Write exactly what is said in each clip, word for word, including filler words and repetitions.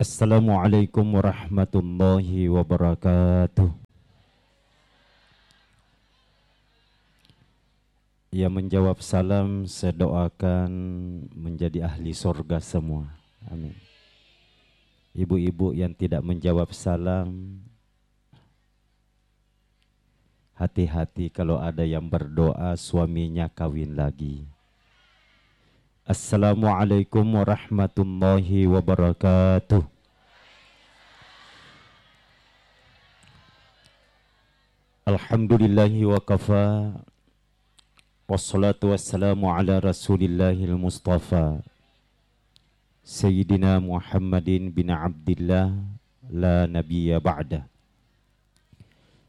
Assalamualaikum warahmatullahi wabarakatuh. Yang menjawab salam, saya doakan menjadi ahli surga semua. Amin. Ibu-ibu yang tidak menjawab salam, hati-hati kalau ada yang berdoa suaminya kawin lagi. Assalamualaikum warahmatullahi wabarakatuh. Alhamdulillahi wa kafa. Wassalatu wassalamu ala Rasulillahil Mustafa, Sayyidina Muhammadin bin Abdillah, la nabiyya ba'da.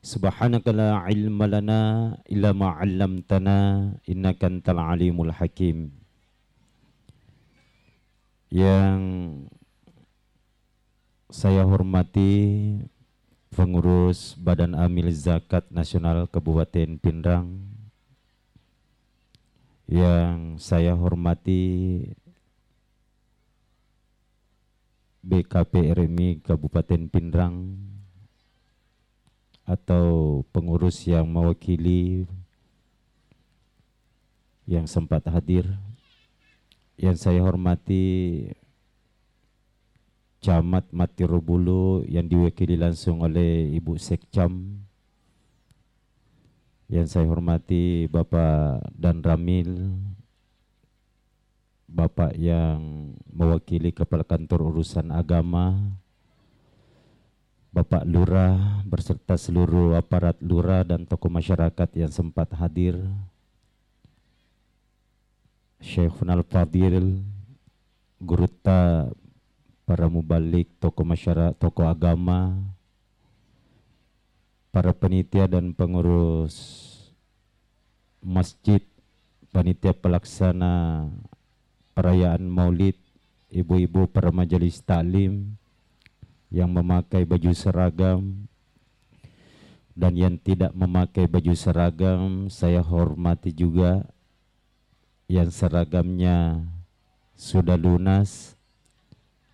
Subhanaka la ilma lana illa ma 'allamtana, innaka antal alimul hakim. Yang saya hormati pengurus Badan Amil Zakat Nasional Kabupaten Pinrang, yang saya hormati B K P R M I Kabupaten Pinrang atau pengurus yang mewakili yang sempat hadir, yang saya hormati Camat Matirobulu yang diwakili langsung oleh Ibu Sekcam, yang saya hormati Bapak Danramil, Bapak yang mewakili Kepala Kantor Urusan Agama, Bapak Lurah beserta seluruh aparat Lurah dan tokoh masyarakat yang sempat hadir, Syaikhunal Fadil, gurutta, para mubalik, tokoh masyara-, tokoh agama, para panitia dan pengurus masjid, panitia pelaksana perayaan Maulid, ibu-ibu para majelis taklim yang memakai baju seragam dan yang tidak memakai baju seragam, saya hormati juga. Yang seragamnya sudah lunas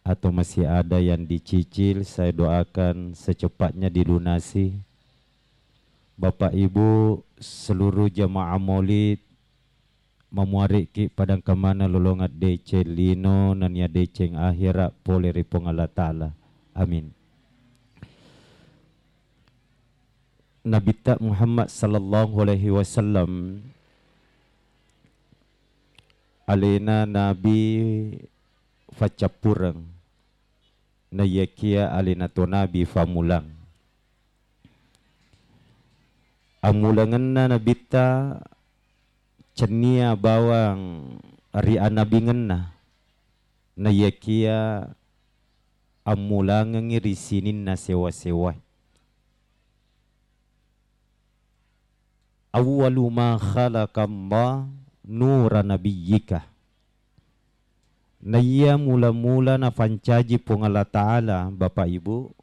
atau masih ada yang dicicil, saya doakan secepatnya dilunasi. Bapak Ibu, seluruh jamaah Maulid, mamuariki padang kamana lolongan deceng lino nennia deceng akhirat pole ri Puang Allah Ta'ala. Amin. Nabitta Muhammad sallallahu alaihi wasallam alena nabi faccappureng, naiyakia alena to nabi fammulang. Ammulangenna nabitta cennia bawang ri anabingenna, naiyakia ammulangengngi ri sininna sewa-sewae. Awwalu ma khalaqallah nura nabiyyika. Naiya mula-mula nafancaji Puang Allah Ta'ala, Bapak Ibu,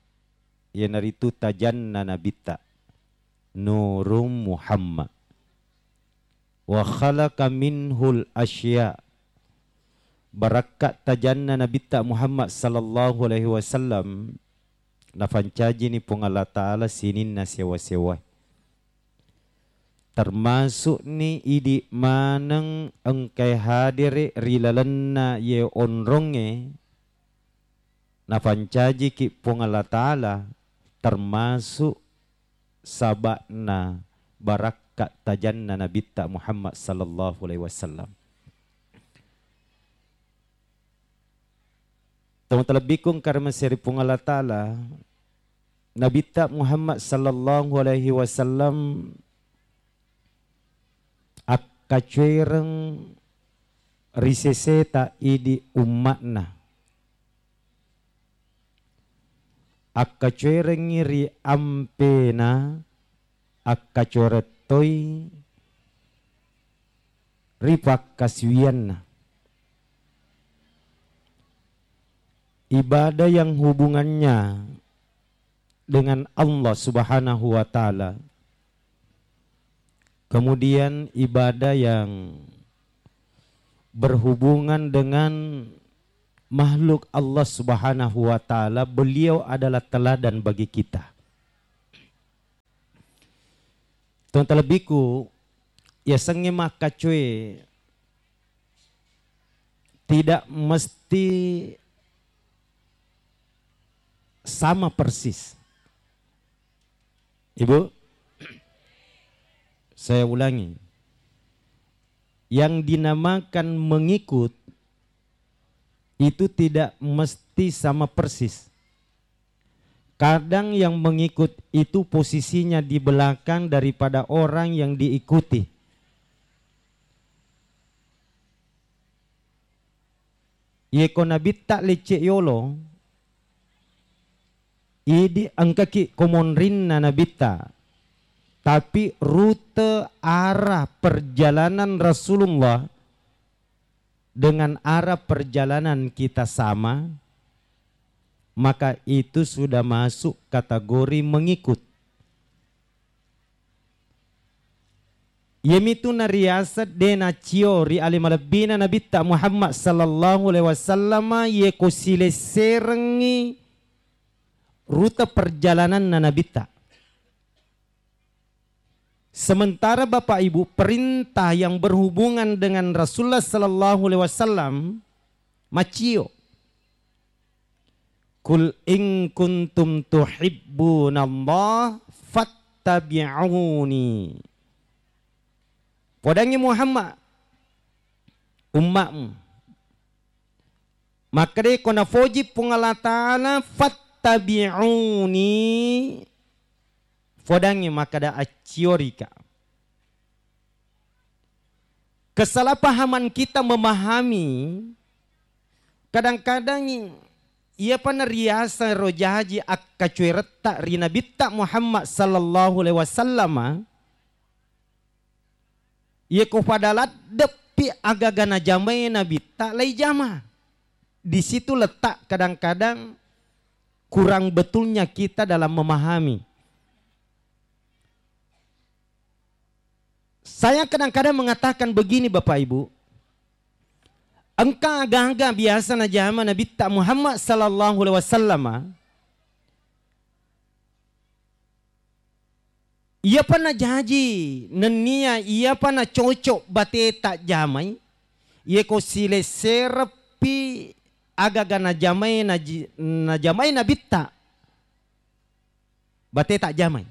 iyanaritu tajanna nabitta, Nurum Muhammad. Wa khalaqa minhul asya. Barakka tajanna nabitta Muhammad sallallahu alaihi wasallam, nafancajini Puang Allah Ta'ala sininna sewa-sewa. Termasukni idi maneng engkai hadere ri lalenna ye onrongnge, nafancajiki Puang Allah Ta'ala, termasuk saba'na barakka tajanna nabitta Muhammad sallallahu alaihi wasallam. Tau talebbiku engka ri Mesir Puang Allah Ta'ala, Nabitta Muhammad sallallahu alaihi wasallam akkacuereng ri seseta idi umma'na. Akkacuerengngi ri ampena, akkacuereng toi ri pakkasiwianna. Ibadah yang hubungannya dengan Allah Subhanahu wa Ta'ala, kemudian ibadah yang berhubungan dengan makhluk Allah Subhanahu wa Ta'ala, beliau adalah teladan bagi kita. Tong talebbiku, yasengnge makkacoe tidak mesti sama persis. Ibu, saya ulangi. Yang dinamakan mengikut itu tidak mesti sama persis. Kadang yang mengikut itu posisinya di belakang daripada orang yang diikuti. Yeko nabitta lecce yolo, idi engkaki komonrinna nabitta, tapi rute arah perjalanan Rasulullah dengan arah perjalanan kita sama, maka itu sudah masuk kategori mengikut. Iyemitu nariaseng de nacio ri ale malebbina Nabitta Muhammad sallallahu alaihi wasallam, yeko silesserengngi rute perjalananna Nabitta. Sementara Bapak Ibu, perintah yang berhubungan dengan Rasulullah sallallahu alaihi wasallam macio. "Qul in kuntum tuhibbunallah fattabi'uni." Podangngi Muhammad, ummatmu. Makkedai ko nafoji Puang Allah Ta'ala, "Fattabi'uni", fodangngi makkeda, "Acciorika." Kesalahpahaman kita memahami, kadang-kadang iyapa nariaseng ro jaji akkacueretta ri Nabitta Muhammad sallallahu alaihi wasallama, yeko pada laddeppi agaga najamai Nabitta, laijama. Di situ letak kadang-kadang kurang betulnya kita dalam memahami. Saya kadang-kadang mengatakan begini, Bapak Ibu, engka aga-aga biasa najama Nabitta Muhammad sallallahu alaihi wasallama, iyapa najaji nennia iyapa nacocok bateta jamai, yeko silessereppi agaga najamai naji-, najamai Nabitta, bateta jamai.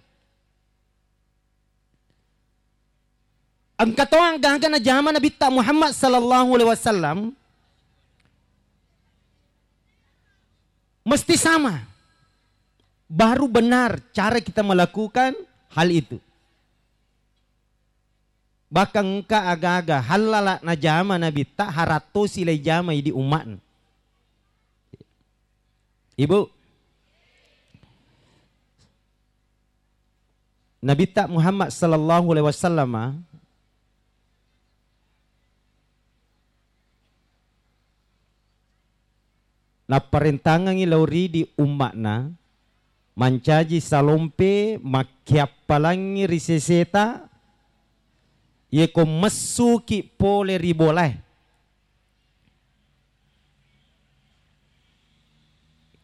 Engka to aga-aga najama Nabitta Muhammad sallallahu alaihi wasallam, mesti sama. Baru benar cara kita melakukan hal itu. Bahkan engka aga-aga hallala najama Nabitta, harattosi laijamai di umma'na. Ibu, Nabitta Muhammad sallallahu alaihi wasallama napparentangengngi lao ridi umma'na mancaji salompe makkiappalangngi ri seseta, yeko messuki pole ri bolae.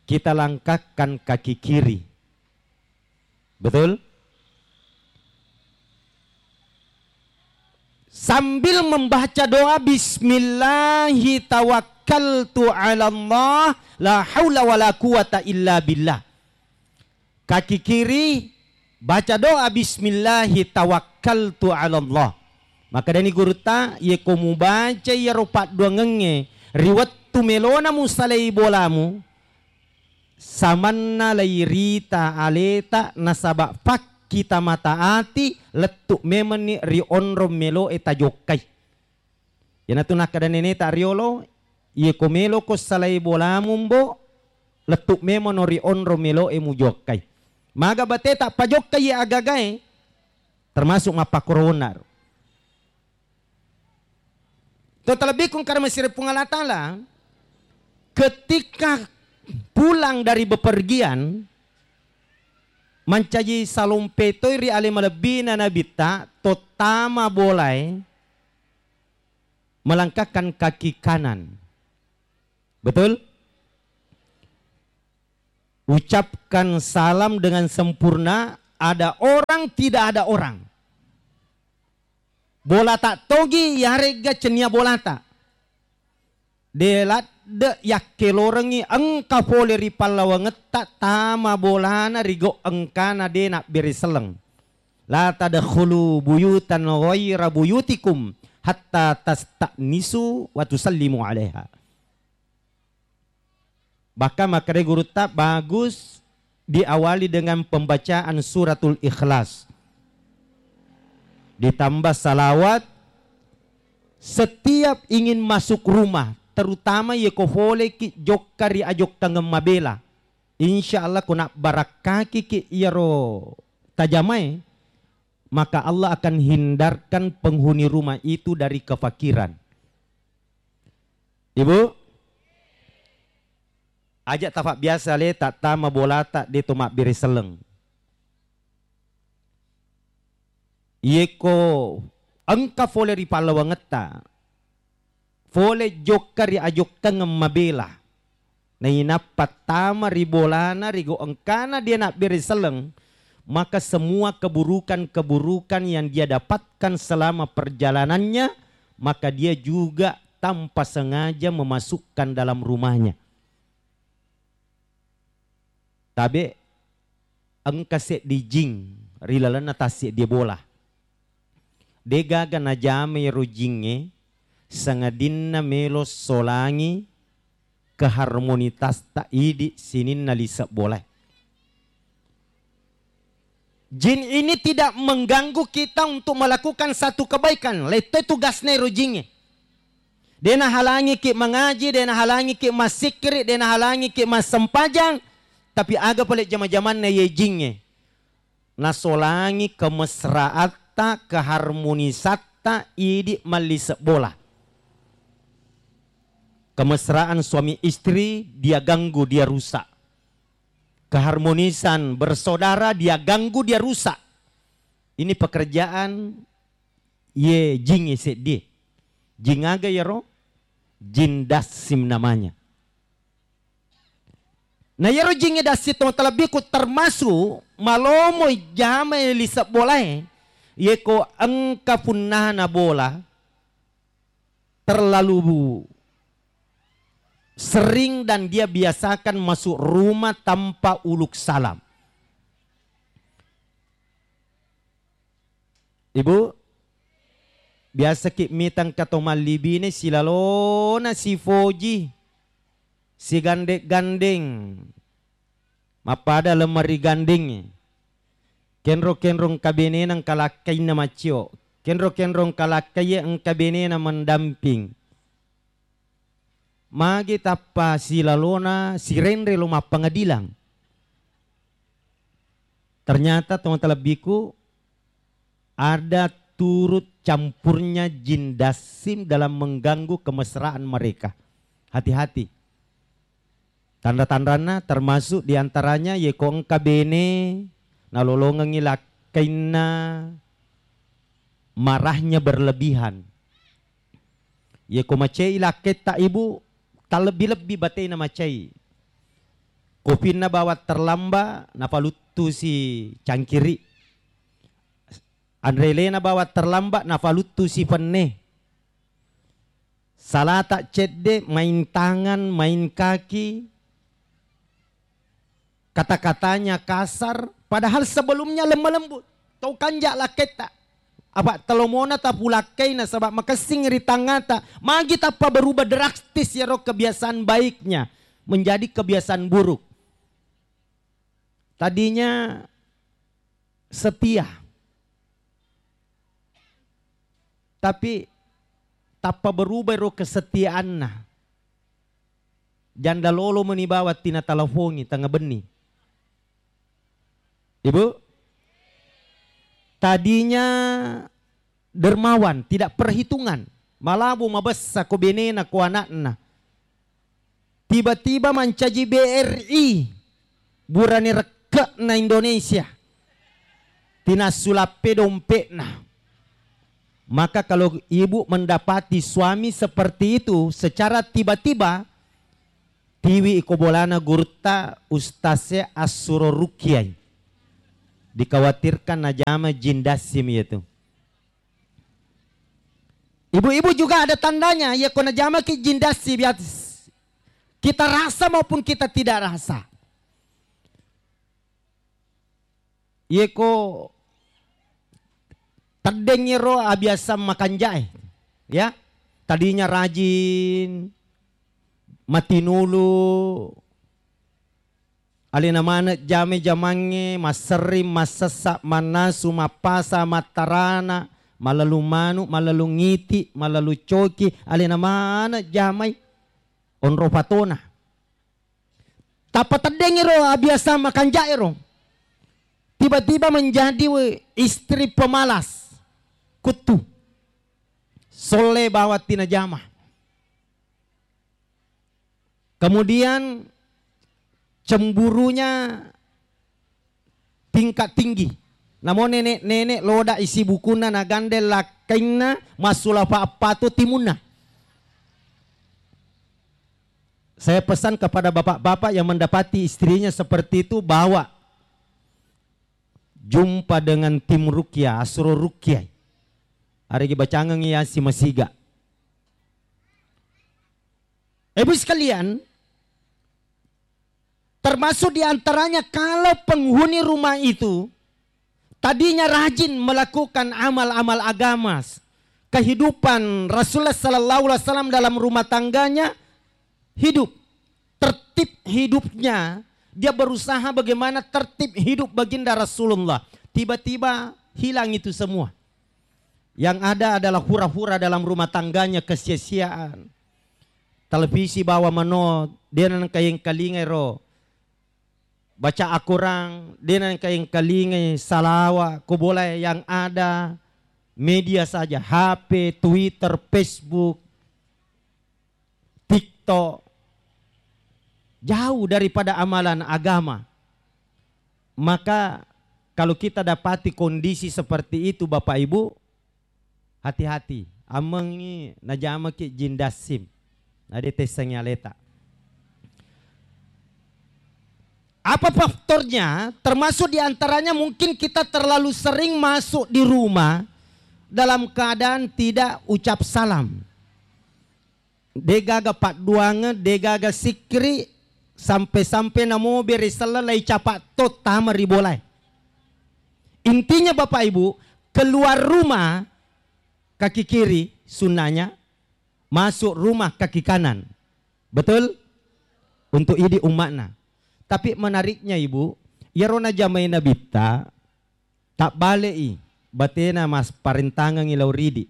Kita langkahkan kaki kiri. Betul? Sambil membaca doa, "Bismillahi tawakkaltu 'ala Allah, la haula wala quwata illa billah." Kaki kiri, baca doa, "Bismillahi tawakkaltu 'ala Allah." Makkedani gurutta, "Yeko mubaca iyaro padduangengnge ri wettu melona musalai bolamu, samanna lairita aleta nasaba fakkita mata ati lettu memenni ri onrong meloe tajokkai." Iyanatu nakkeda neneta riolo, "Iyeko meloko salai bolamu, Mbo, lettu memono ri onrong meloe mujokkai." Maga bateta pajokkai iye agagae, termasuk mappakkoro wonnaro. To talebbiku engka ri masiri Puang Allah Ta'ala, ketika pulang dari bepergian, mancaji salompe toi ri ale malebbina Nabitta, tottama bolae, melangkahkan kaki kanan. Betul? Ucapkan salam dengan sempurna, ada orang, tidak ada orang. Bolata togi, yaregga cennia bolata. De ladde yakkelorengngi engka fole ri pallawangetta tama bolana ri gau engkana de nabbere selleng. La tadkhulu buyutan ghaira buyutikum hatta tasta'nisu wa tusallimu alaiha. Bahkan makkeda gurutta, bagus diawali dengan pembacaan suratul Ikhlas. Ditambah salawat, setiap ingin masuk rumah, terutama yeko foleki jokka ri ajokkangeng mabela. Insya Allah ko nabbarakkakiki iyaro tajamae, maka Allah akan hindarkan penghuni rumah itu dari kefakiran. Ibu, aja tafabbiasa le tattama bolata de to mabbere selleng. Yeko engka fole ri pallawangetta, fole jokka ri ajokkangeng mabela, nainappa tama ri bolana ri gau engkana de nabbere selleng, maka semua keburukan-keburukan yang dia dapatkan selama perjalanannya, maka dia juga tanpa sengaja memasukkan dalam rumahnya. Tabe engka seddi jing ri lalenna tasseddie bola. De gaga najama ero jingnge sangadinna melo solangi keharmonitasta idi sininna lise bolae. Jin ini tidak mengganggu kita untuk melakukan satu kebaikan. Letto tugasna ero jingnge. De nahalangiki mangaji, de nahalangiki massikkiri, de nahalangiki massempajang, tapi aga pale jama-jamanna ye jingnge? Nasolangi kemesraatta, keharmonisatta idi mallise bola. Kemesraan suami istri dia ganggu, dia rusak. Keharmonisan bersaudara dia ganggu, dia rusak. Ini pekerjaan ye jingnge seddie. Jin aga yero? Jin dassim namanya. Na yero jingnge dassim to talebbiku termasuk malomo jama lise bolae, yeko engka punnana bola terlalu sering dan dia biasakan masuk rumah tanpa uluk salam. Ibu, biasaki mitang kato mallibine silalona sifoji, sigandeng-gandeng, mappada lemari gandengnge. Kenro-kenro engka benena engka lakkainna maccio. Kenro-kenro engka lakkaiye engka benena mendamping. Magi tappa silalona sirenre lo mappengadilang? Ternyata, tong talebbiku, ada turut campurnya jin dassim dalam mengganggu kemesraan mereka. Hati-hati. Tanra-tanranna termasuk diantaranya yeko engka bene nalolongengngi lakkainna marahnya berlebihan. Yeko macai lakketta ibu, talebbi-lebbi batena macai. Kofinna bawang terlambat, nafaluttusi cangkiri. Anrelena bawang terlambat, nafaluttusi fenne. Salata cedde, main tangan, main kaki, kata-katanya kasar, padahal sebelumnya lemah lembut. Tau kanja lakketta. Apa telomona tapulakkai nasaba makessing ri tangngata. Magi tappa berubah drastis yaro kebiasaan baiknya menjadi kebiasaan buruk. Tadinya setia. Tapi tappa berubah ro kesetiaanna. Janda lolo meni bawang tina talafongi tengnga benni. Ibu, tadinya dermawan, tidak perhitungan. Malabo mabessa ko benena, ko anakna. Tiba-tiba mancaji B R I, burane rekke'na Indonesia. Tinassulappe dompetna. Maka kalau ibu mendapati suami seperti itu secara tiba-tiba, Tiwi iko bolana gurutta, ustaznya assuro rukiai. Dikhawatirkan najama jin dassim iyatu. Ibu-ibu juga ada tandanya, ya ko najamaki jin dassim, ya, kita rasa maupun kita tidak rasa. Yeko teddeng ero abiasa makanjae, ya. Tadinya rajin, matinulu, alena maneng jame-jamangnge, masserring, massessa, mannasu, mappasa, mattarana, mallalung manu, mallalung iti, mallalung coki, alena maneng jamai onro fatona. Tappa teddeng ero abiasa makanjae ro, tiba-tiba menjadi we-, istri pemalas, kuttu, solle bawang tinajama. Kemudian cemburunya tingkat tinggi. Namo nenek-nenek loda isi bukunna nagande lakkainna massulafa appatu timunna. Saya pesan kepada bapak-bapak yang mendapati istrinya seperti itu, bawa jumpa dengan tim ruqyah, asro ruqyah. Aregi bacangengi Yasin masiga. Ibu sekalian, termasuk di antaranya kalau penghuni rumah itu tadinya rajin melakukan amal-amal agama, kehidupan Rasulullah sallallahu alaihi wasallam dalam rumah tangganya hidup, tertib hidupnya, dia berusaha bagaimana tertib hidup baginda Rasulullah. Tiba-tiba hilang itu semua. Yang ada adalah hura-hura dalam rumah tangganya, kesia-siaan. Televisi bawa mano, dena nengka yengkalingai ro baca Al-Quran, dena nengka yengkalingai salawa, ko bola yang ada media saja, H P, Twitter, Facebook, TikTok, jauh daripada amalan agama. Maka kalau kita dapati kondisi seperti itu, Bapak Ibu, hati-hati, ammengngi najamaki jin dassim, nadetessangi aleta. Apa faktornya? Termasuk diantaranya mungkin kita terlalu sering masuk di rumah dalam keadaan tidak ucap salam. Degaga padduangeng, degaga sikkiri, sampe-sampe namo bere selleng lai capa to tama ri bolae. Intinya Bapak Ibu, keluar rumah kaki kiri sunnahnya, masuk rumah kaki kanan. Betul? Untuk idi umma'na. Tapi menariknya Ibu, iyaro najamai Nabitta, tabbale'i batena mas parentangengi lao ridi.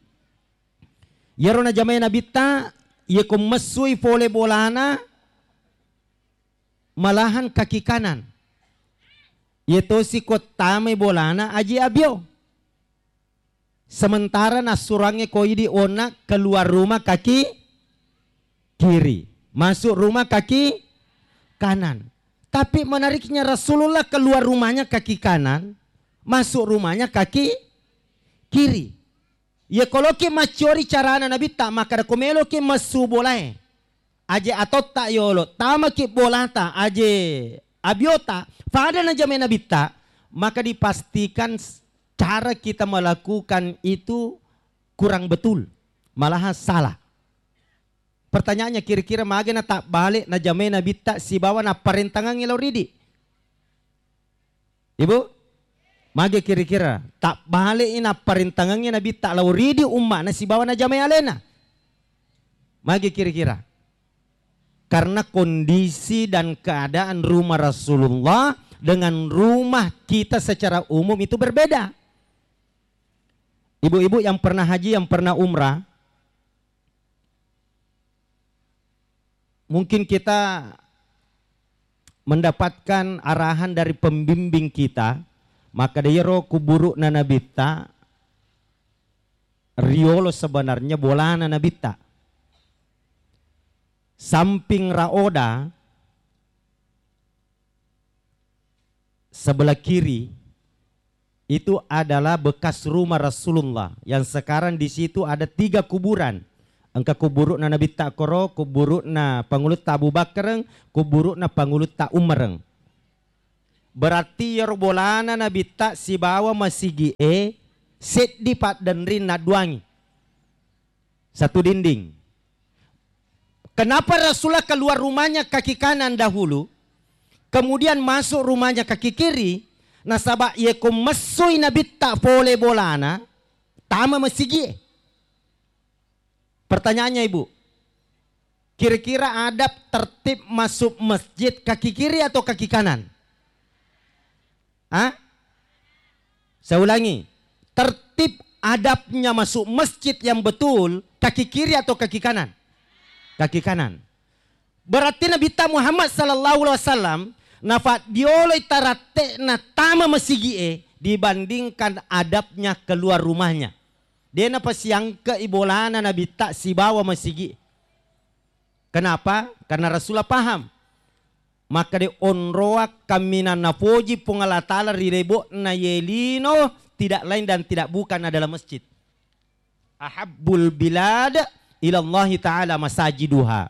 Iyaro najamai Nabitta, iyako messui fole bolana, malahan kaki kanan. Iyatosi ko tamai bolana aji abio. Sementara nassurangnge ko idi onna keluar rumah kaki kiri, masuk rumah kaki kanan. Tapi menariknya Rasulullah keluar rumahnya kaki kanan, masuk rumahnya kaki kiri. Iya koloki macciori carana Nabitta, makkada ko meloki messu bolae, aje atotta yolo, tamaki bolata, aje abiota, fada najamai Nabitta, maka dipastikan s-, cara kita melakukan itu kurang betul, malahan salah. Pertanyaannya, kira-kira magi na tabbale najamai Nabitta sibawa napparentangangngi lao ridi? Ibu? Magi kira-kira tabbale i napparentangangngi Nabitta lao ridi umma'na sibawa najamai alena? Magi kira-kira? Karena kondisi dan keadaan rumah Rasulullah dengan rumah kita secara umum itu berbeda. Ibu-ibu yang pernah haji, yang pernah umrah, mungkin kita mendapatkan arahan dari pembimbing kita, maka de iyaro kuburu'na Nabitta riolo sebenarnya bolana Nabitta. Samping raoda, sebelah kiri itu adalah bekas rumah Rasulullah yang sekarang di situ ada tiga kuburan. Engka kuburu'na Nabitta koro, kuburu'na Pangulutta Abu Bakreng, kuburu'na Pangulutta Umareng. Berarti iyaro bolana Nabitta sibawa masigi'e seddi paddenring nadduangi. Satu dinding. Kenapa Rasulullah keluar rumahnya kaki kanan dahulu, kemudian masuk rumahnya kaki kiri? Nasaba yeko messui Nabitta pole bolana, tama masigi'e. Pertanyaannya, Ibu, kira-kira adab tertib masuk masjid kaki kiri atau kaki kanan? Hah? Saya ulangi, tertib adabnya masuk masjid yang betul kaki kiri atau kaki kanan? Kaki kanan. Berarti Nabitta Muhammad sallallahu alaihi wasallam nafaddioloi taratte'na tama masigi'e dibandingkan adabnya keluar rumahnya. De napasiangke'i bolana Nabitta sibawa masigi. Kenapa? Karena Rasulullah paham. Makkeda onroang kaminang napoji Puang Allah Ta'ala ri lebo'na ye lino, tidak lain dan tidak bukan adalah masjid. Ahabbul bilad ilallahi ta'ala masajiduha.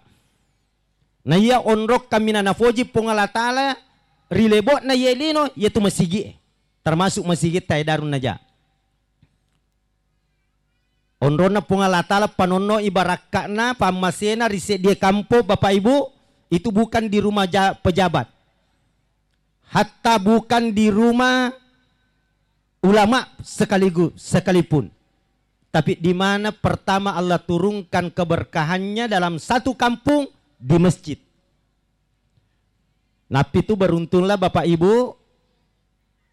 Na iya onrong kaminang napoji Puang Allah Ta'ala ri lebo'na ye lino, yaitu masigi'e. Termasuk masigi'ta e Darun Najah. Onronna Puang Allah Ta'ala panonno i barakka'na pammasena ri seddie kampong, Bapak Ibu, itu bukan di rumah ja-, pejabat. Hatta bukan di rumah ulama sekaligus, sekalipun. Tapi di mana pertama Allah turunkan keberkahannya dalam satu kampung? Di masjid. Nappi tu beruntunglah Bapak Ibu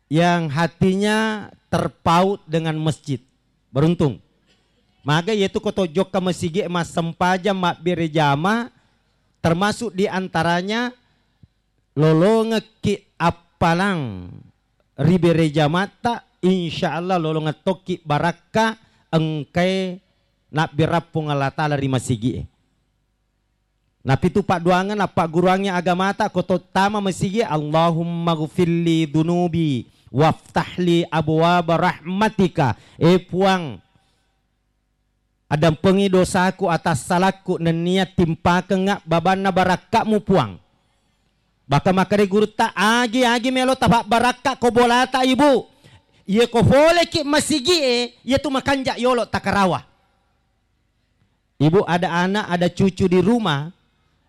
yang hatinya terpaut dengan masjid. Beruntung. Maga yaitu ko to jokka masigi massempajang mabbere jama, termasuk di antaranya lolongekki appalang ri bere jamatta, insya Allah lolongeng tokki barakka engkae nabberappung Allah Ta'ala ri masigi'e. Napitu padduangeng, nappagguruangngi agamata, ko tottama masigi, Allahumma gfirli dunubi waftahli abwaba rahmatika. E Puang, adampengi dosaku, atassalakku, nennia timpakengnga babanna barakka'mu, Puang. Baka makkeda gurutta, agi-agi melo tapabbarakka ko bolata, Ibu. Iye ko foleki masigi'e, iyetu makanja yolo takarawa. Ibu ada anak, ada cucu di rumah,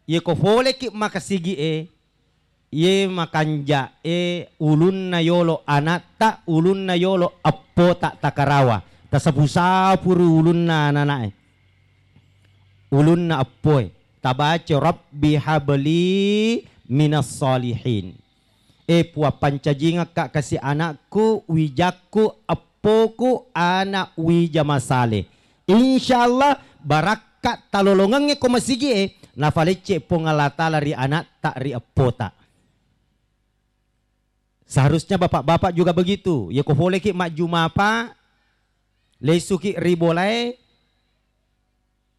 iye ko foleki makasigi'e, iye makanja'e ulunna yolo anatta, ulunna yolo eppota takarawa. Tasapu-sapuru ulunna anana'e. Ulunna eppoe. Tabaca, "Rabbi habli minas salihin." E Puang, pancajingekka kasi anakku, wijakku, eppoku, anak wija masale. Insya Allah, barakka talolongengnge ko masigi'e, nafalecce Puang Allah Ta'ala ri anatta, ri eppota. Seharusnya bapak-bapak juga begitu. Ye ko foleki majjumapa, lesuki ri bolae,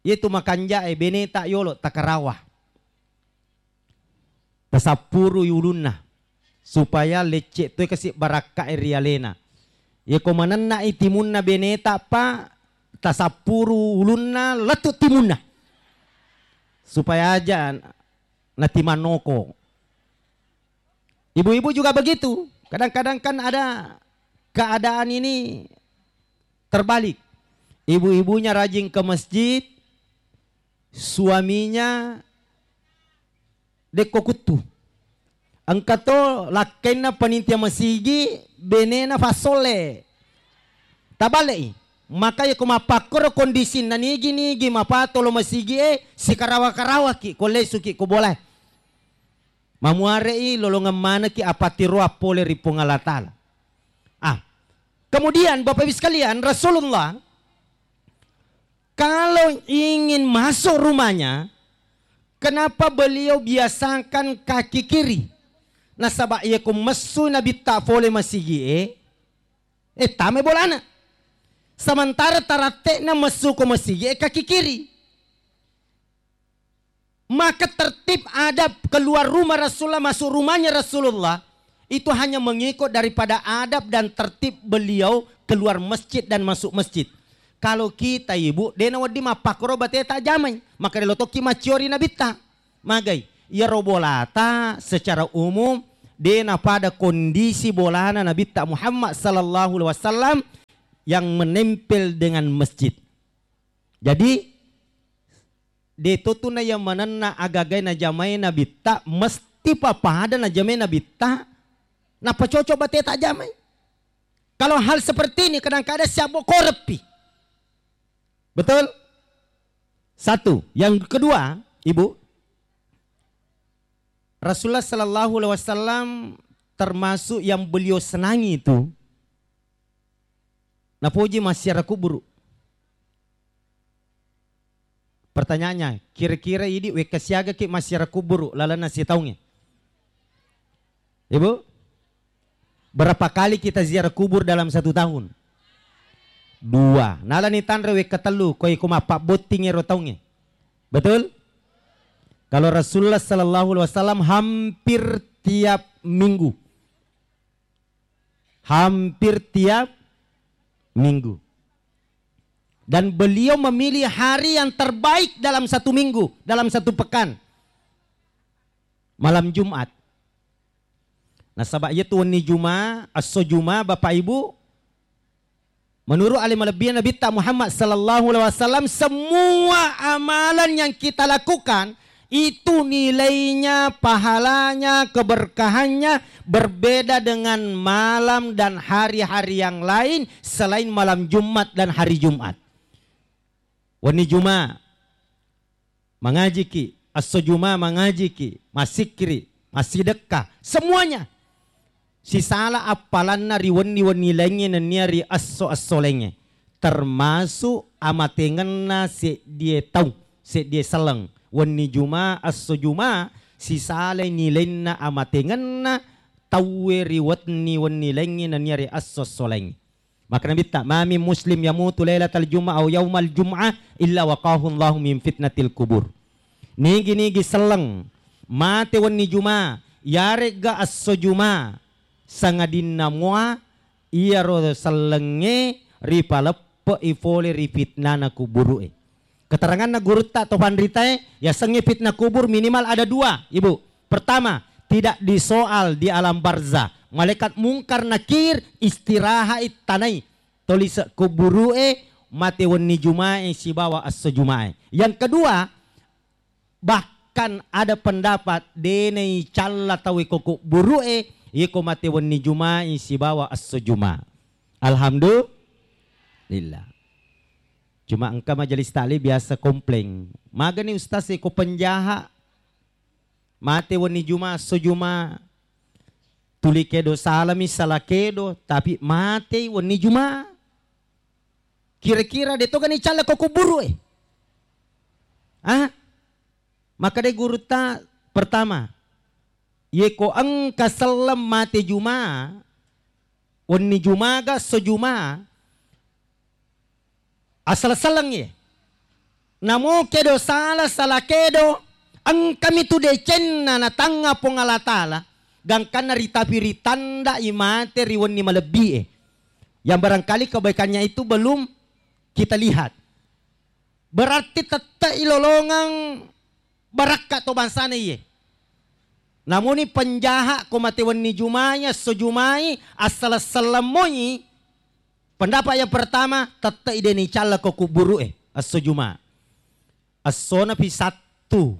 yetu makanjae beneta yolo takarawa. Tasappurui ulunna, supaya lecce toi kasi barakka'e ri alena. Yeko manenna'i timunna beneta pa, tasappuru ulunna lettu timunna. Supaya aja natimannoko. Ibu-ibu juga begitu. Kadang-kadang kan ada keadaan ini terbalik. Ibu-ibunya rajin ke masjid, suaminya dekko kuttu. Engka to lakkainna panitia masigi, benena fassolle. Tabale'i. Maka yeko mappakkoro kondisinna nigi-nigi mapatolo masigi e, sikarawa-karawaki ko lesuki ko bolae. Mamuare'i lolongeng manekki apattiroang pole ri Puang Allah Ta'ala. Ah, kemudian Bapak Ibu sekalian, Rasulullah kalau ingin masuk rumahnya, kenapa beliau biasakan kaki kiri? Nasaba yeko messu Nabitta fole masigi'e, eh, tame bolana. Sementara taratte'na messu ko masigi'e kaki kiri. Maka tertib adab keluar rumah Rasulullah, masuk rumahnya Rasulullah, itu hanya mengikut daripada adab dan tertib beliau keluar masjid dan masuk masjid. Kalau kita, Ibu, de' nawedding mappakkoro bateta jamai, maka de' lo tokki macciori nabitta. Magai, iyaro bolata secara umum de' napada kondisi bolana Nabitta Muhammad sallallahu alaihi wasallam yang menempel dengan masjid. Jadi, de' to tu nayamanenna agagai najamai nabitta, mesti papada najamai nabitta, nappa cocok bateta jamai. Kalau hal seperti ini kadang-kadang siabbo korepi. Betul? Satu. Yang kedua, Ibu, Rasulullah sallallahu alaihi wasallam termasuk yang beliau senangi itu napoji massiara kuburu. Pertanyaannya, kira-kira idi wekka siagaki massiara kuburu lalenna sitaungnge? Ibu? Berapa kali kita ziarah kubur dalam satu tahun? Dua. Nalani tanre wekka tellu, ko iko mappabbotting ero taungnge. Betul? Kalau Rasulullah sallallahu alaihi wasallam hampir tiap minggu. Hampir tiap minggu. Dan beliau memilih hari yang terbaik dalam satu minggu, dalam satu pekan. Malam Jumat. Nasaba iyatu wenni Juma, esso Juma, Bapak Ibu, menurut ale malebbi'e Nabitta Muhammad sallallahu alaihi wasallam, semua amalan yang kita lakukan itu nilainya, pahalanya, keberkahannya berbeda dengan malam dan hari-hari yang lain selain malam Jumat dan hari Jumat. Wenni Juma, mangajiki, esso Juma mangajiki, massikkiri, massidekka, semuanya. Sisala appalanna ri wenni-wenni laingnge nennia ri esso-esso laingnge, termasuk amatengenna seddie taung, seddie selleng. Wenni Juma, esso Juma, sisalai nilainna amatengenna tauwe ri wenni-wenni laingnge nennia ri esso-esso laingnge. Maka Nabitta, "Ma min muslim yamutu lailatal jum'ah au yaumal jum'ah illa waqahu Allahu min fitnatil kubur." Nigi-nigi selleng mate wenni Juma, yaregga esso Juma, sangadinna mua iyaro sellengnge ripaleppe'i fole ri fitnana kuburu'e. Keteranganna gurutta to panritae, yasengnge fitnah kubur minimal ada dua, Ibu. Pertama, tidak disoal di alam barzah. Malaikat Mungkar Nakir istirahat tanai tolise kuburu'e mate wenni Jumae sibawa esso Jumae. Yang kedua, bahkan ada pendapat denai calla tau iko kuburu'e iko mate wenni Jumae sibawa esso Juma. Alhamdulillah. Cuma engka majelis taklim biasa komplain. Magani ustaz, iko penjaha mate wenni Juma, esso Juma, tuli kedo salami, sala kedo, tapi matei wenni Juma. Kira-kira de togani calla ko kuburu'e? Ah? Maka de gurutta pertama, yeko engka selleng mate Juma, wenni Jumaga esso Juma, asala-salangngi. Namo kedo sala, sala kedo, engkami tu decenna natangnga Puang Allah Ta'ala, gangkanna ritapi ritandai mate ri wenni malebbi'e. Yang barangkali kebaikannya itu belum kita lihat. Berarti tette'i lolongeng barakka to bangsana iye. Namuni penjaha ko mate wenni Jumai, esso Jumai, assaleng-selleng moi. Pendapat yang pertama, tette'i deni calla ko kuburu'e, esso Juma. Essona pi Sattu,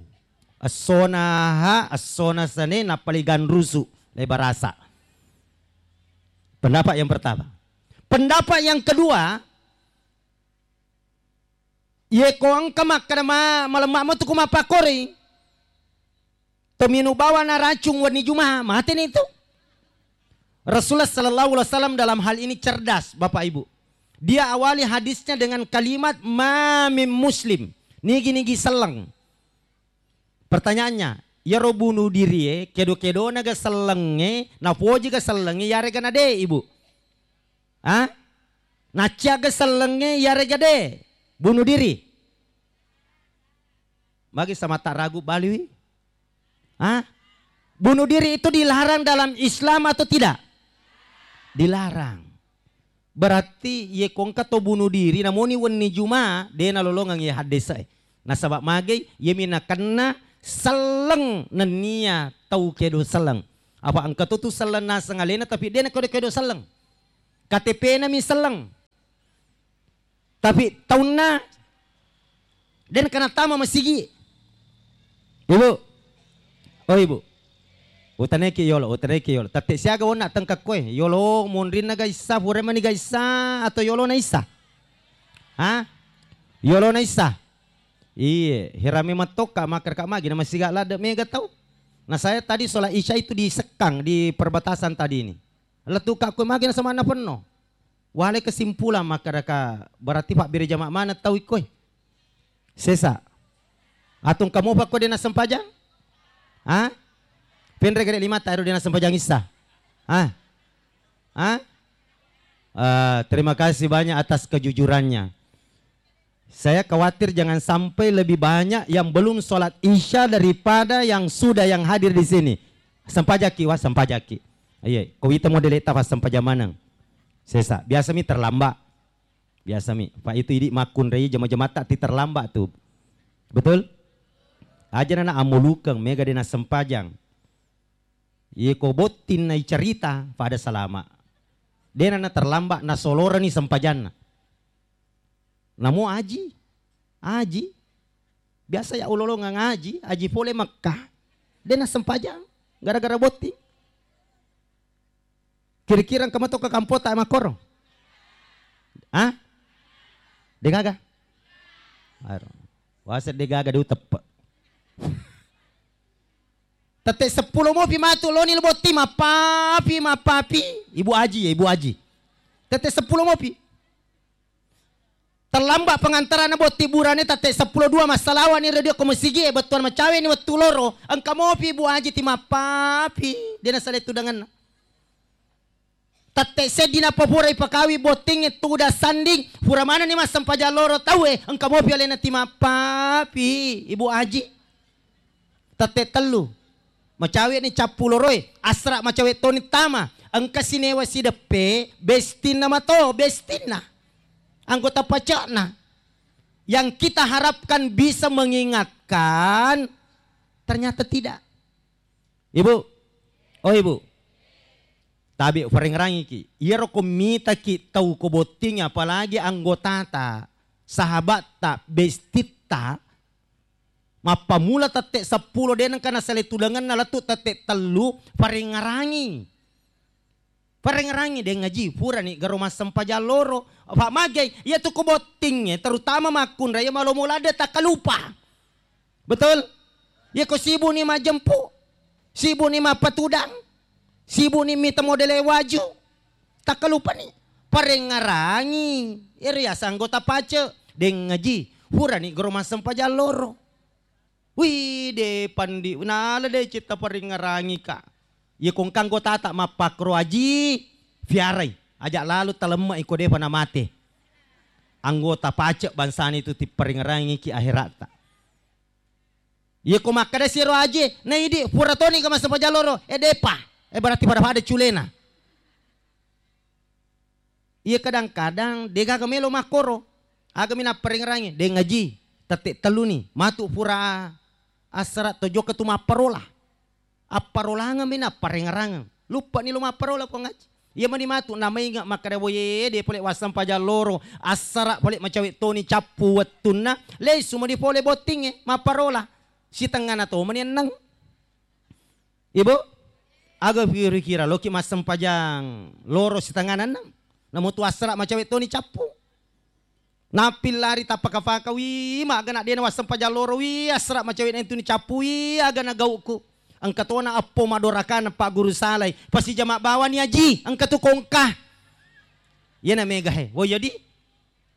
essona Aha, essona Sene, nappa le ganrusu, le barasa. Pendapat yang pertama. Pendapat yang kedua, Iye ko engka makkeda ma-, malemma metu ko mappakkori, tominu bawana racung wenni Juma, mateni tu. Rasulullah sallallahu alaihi wasallam dalam hal ini cerdas, Bapak Ibu. Dia awali hadisnya dengan kalimat, "Ma min muslim." Nigi-nigi selleng. Pertanyaannya, iyaro bunuh dirie, kedo-kedona ga sellengnge, napoji ga sellengnge, yarega na de, Ibu? Ah? Nacciaga sellengnge, yarega de? Bunuh diri. Magi samatta ragu baliwi? Ah? Bunuh diri itu dilarang dalam Islam atau tidak? Dilarang. Berarti iye ko engka to bunuh diri namoni wenni Juma, de nalolongeng iye haddese e. Nasaba magai, iyemi nakenna selleng nennia tau kedo selleng. Apa engka to tu selleng naseng alena, tapi de nakedo-kedo selleng. K T P-na mi selleng. Tapi taunna de nengka nattama masigi. Ibu. Oh, Ibu. Utanaiki yolo, utanaiki yolo. Tette siaga wonna tengkakkoe. Yolo monrinna ga issa, pura mani ga issa, atau yolona issa? Ha? Yolona issa? Iye, herame mattokka, makkadaka magi na masiga ladde mega tau. Nah, saya tadi sholat Isya itu di Sekkang, di perbatasan tadi ini. Lettuka koe magi na samanna penno. Wale kesimpulan makkadaka, berarti pabbere jama maneng tau ikkoi. Sesa. Atau engka mopa ko de nassempajang? Ha? Penre gede limata ero de nassempajang issa. Ha? Ha? Eh, terima kasih banyak atas kejujurannya. Saya khawatir jangan sampai lebih banyak yang belum sholat Isya daripada yang sudah yang hadir di sini. Sempajaki, wah, sempajaki. Iya, ko wita model eta pas sempajang maneng. Sesa, biasa mi terlambat. Biasa mi. Pak itu idi makkunrai jama-jamatta ti terlambat tu. Betul? Aja nana amulukeng, mega de nassempajang. Iye ko botting nai cerita pada salama. De nana terlambat nasolorani sempajanna. Namo aji, aji. Biasa ya ulolongang aji, aji pole Mekah. De nassempajang gara-gara botting. Kira-kira engka mato ke kampota makkoro? Ah? De gaga? Aro. Wase de gaga de uteppe. Tette seppulo mopi matu loni lo botting mappapi, mappapi. Ibu Aji ya, Ibu Aji. Tette seppulo mopi. Terlambat pengantaranna botting burane tette seppulo dua massalawani radio ko masigi e bettuan macawe ni wettu loro. Engka mopi Ibu Aji ti mappapi. De nasale tudanganna. Tette seddi nappa pura ipakawi bottingnge tudang sanding, pura manenni massempajang loro tauwe, engka mopi alena ti mappapi, Ibu Aji. Tette tellu, macawe ni cappu loroe, asra macawe toni tama, engka sinewa sideppe, bestinna mato, bestinna. Anggota pacakna. Yang kita harapkan bisa mengingatkan, ternyata tidak. Ibu, oh Ibu, tabe uparengerangiki. Iyaro ko mitaki tau ko botting, apalagi anggotata, sahabatta, bestitta, mappamula tette seppulo de nengka nasale tudangenna lettu tette tellu, parengerangi. Parengerangi, deng aji, purani garo massempajang loro. Apa magai, iya tu ko bottingnge, terutama makkunrai, iya malomo ladde takkalupa. Betul? Iya ko sibuni majempu, sibuni mappatudang, sibuni mita modele waju, takkalupani. Parengerangi, ero yaseng anggota pace, deng aji, purani garo massempajang loro. Wih, de pandi, nala de citta paringngerangika. Iya ko engka anggotata mappakkoro aji, fiarai. Aja lalo talemme'i ko depa namate. Anggota pacek bangsana itu tiparingngerangiki akheratta. Iya ko makkeda siro aji, na idi pura toni ka massempajang loro, eh depa. Eh berarti pada-pada culena. Iya kadang-kadang degaga melo makkoro. Agami napparengerangi, deng aji, tette telluni, matu pura assara to jokka tu mapparola. Apparolangeng mi napparengerangeng. Luppani lo mapparola Puang Aji. Iya mani matu namainga makkeda boye de pole wassempajang loro, assara pole macawe toni cappu wettunna, lesu mani pole bottingnge mapparola. Sitengngana to mani enneng. Ibu, aga kira-kira loki massempajang loro sitengana enneng? Namo tu assara macawe toni cappu. Nappillari tappaka-paka, wi, maga na dena wassempajang loro, wi, assara macawe na tuni cappu, wi, aga na gauku. Engka tona eppo madorakana Pak Guru Salai. Pasijama bawani aji, engka tu kongka. Iyana mega he. Wo jadi?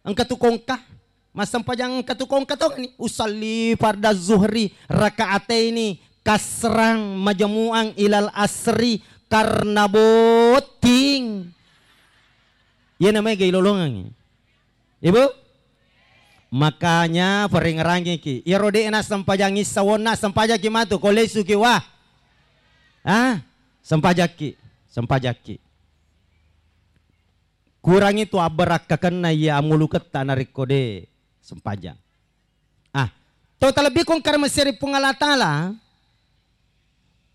Engka tu kongka, massempajang engka tu kongka tongni. Usalli farda zuhri rakaataini kasrang majmu'an ilal asri karena botting. Iya namanya gai lolongangi. Ibu? Makanya paringerangiki. Iyaro de na sempajang issa wonna sempajaki matu ko lesuki wa. Ah, sempajakki, sempajakki. Kurangi tu abbarakkakenna iya amuluketta narekko de sempajang. Ah, to talebbi kong karmaseri Puang Allah Ta'ala,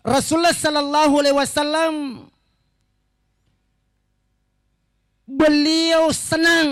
Rasulullah sallallahu alaihi wasallam beliau senang